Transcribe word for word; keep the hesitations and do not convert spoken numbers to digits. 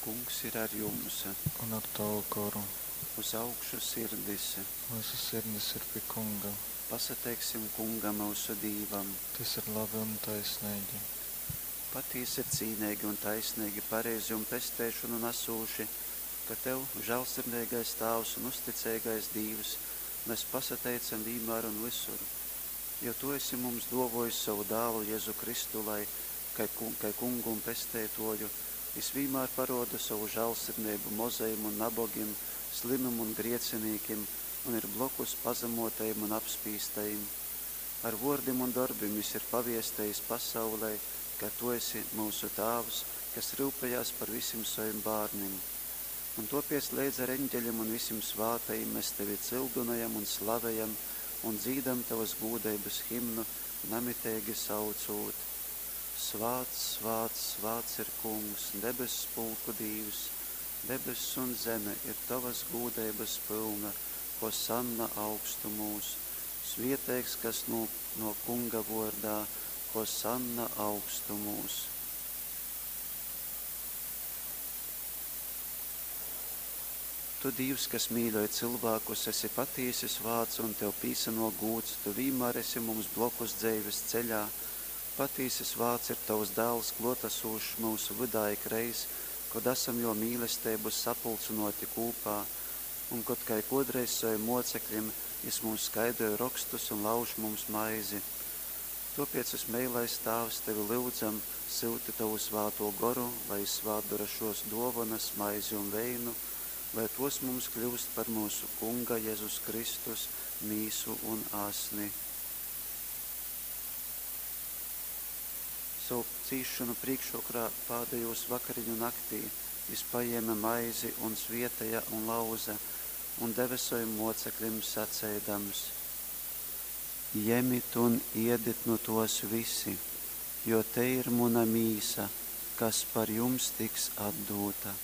Kungs ir ar jums. Un ar tavu goru. Uz augšu sirdis. Myusu sirdis ir pi Kunga. Pasateiksim Kungam, myusu Dīvam. Tys ir labi un taisneigi. Patīsi ir cīneigi un taisneigi, pareizi un pesteišonu nasūši, ka Tev, žālsirdeigais Tāvs un uzticeigais Dīvs, mes pasateicam vīnmār un vysur. Jo Tu esi mums duovuojis sovu Dālu Jezu Kristu, lai, kai, kai Kungu un Pesteituoju, Jis vīnmār paruoda sovu žālsirdeibu mozajim un nabogim, slimim un griecinīkim un ir blokus pazamuotajim un apspīstajim. Ar vuordim un dorbim Jis ir paviestejis pasaulei, ka Tu esi myusu Tāvs, kas ryupejās par vysim sovim bārnim. Un tuopiec leidz ar eņģeļim un vysim svātajim mes Tevi cyldynojam un slavejam un dzīdam Tovys gūdeibys himnu, namiteigi saucūt: Svāts, svāts, svāts ir Kungs, debess pulku Dīvs, debess un zeme ir Tovys gūdeibys pylna, Hosanna augstumūs. Svieteigs, kas nuok nuok Kunga vuordā, Hosanna augstumūs. Tu, Dīvs, kas mīļoj cylvākus, esi patīsi svāts un Tev pīsanuok gūds, Tu vīnmār esi mums blokus dzeivis ceļā. Patīsi svāts ir Tovs Dāls, kluotasūšs myusu vydā ikreiz, kod asam Juo mīlesteibu sapulcynuoti kūpā, un kod, kai kuodreiz sovim muoceklim, Jis mums skaidroj Rokstus un lauž mums maizi. Tuopiec, vysmeilais Tāvs, Tevi lyudzam, syuti Tovu Svātū Goru, lai Jis svātdora šuos duovonys, maizi un veinu, lai tuos mums kļyust par myusu Kunga Jezus Kristus mīsu un asni. Sovu cīsšonu prīkšvokorā, pādejūs vakariņu naktī, Jis pajēme maizi un svieteja un lauze un deve sovim muoceklim, saceidams: Jemit un iedit nu tuos vysi, jo tei ir muna mīsa, kas par jums tiks atdūta.